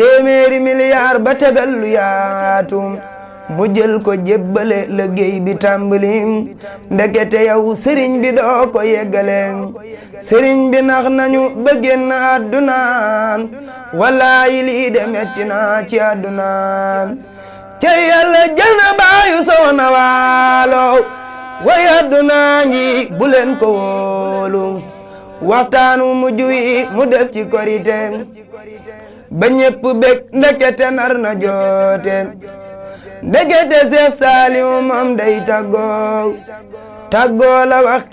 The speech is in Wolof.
téeméeri milliard ba tegal lu yaatu mu jël ko jébbale liggéey bi tàmbali ndekete yow sëriñ bi doo ko yeggale sëriñ bi nax nañu ba génn àdduna wallaayi lii de metti na ci àdduna ca yàlla jël na baayu soxna waalo way àdduna ngi bu leen ko wóolu waxtaanu mujj wi mu def ci korite ba ñépp bég ndekete nar na joote ndekete Seex Saaliw moom day tàggoo la wax